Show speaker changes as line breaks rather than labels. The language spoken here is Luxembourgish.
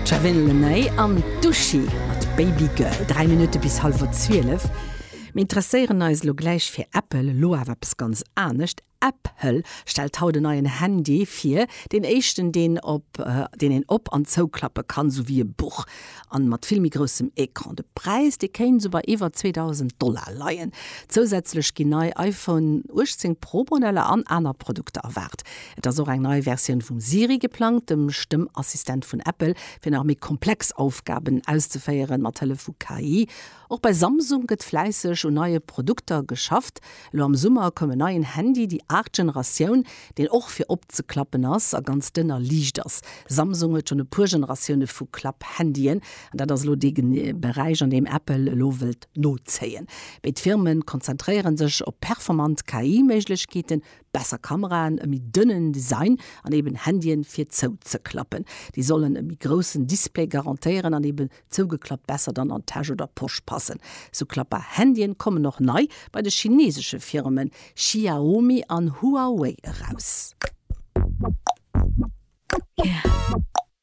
D'Shavin Lenay an d'Uschi mat Baby Girl. 3 Minutte bis hallwer 12. Mir interesséieren eis elo gläich fir Apple, elo awer eppes ganz anescht. Apple stellt haut en neien Handy vir, deen éischten deen op deen een op an zouklappe kann, sou wéi e Buch, an mat vill méi groussem Ecran. De Präis dee kéint sou bei iwwer 2.000 Dollar leien. Zousätzlech ginn nei iPhone 18 Pro Modeller an aner Produkter erwaart. Et ass och eng nei Versioun vum Siri geplangt, dem Stëmmassistent vun Apple, fir nach méi komplex Aufgaben auszeféieren, mat Hëllef vu KI. Och bei Samsung gëtt fläisseg un neie Produkter geschafft. Elo am Summer koum en neien Handy, déi aacht Generatioun, deen och fir opzeklappen ass a ganz dënn a liicht ass. Samsung huet schonn e puer Generatioune vu Klapp-Handyen an dat ass elo dee Beräich, an deem Apple elo wëllt nozéien. Béid Firme konzentréiere sech op performant KI-Méiglechkeeten, besser Kameraen, e méi dënnen Design an eben Handyen fir zouzeklappen. Déi sollen e méi groussen Display garantéieren an eben Zougeklappt besser dann an d'Täsch oder Posch passen. Sou klappbar Handyen kommen och nei bei de chinesesche Firmen Xiaomi an Huawei eraus.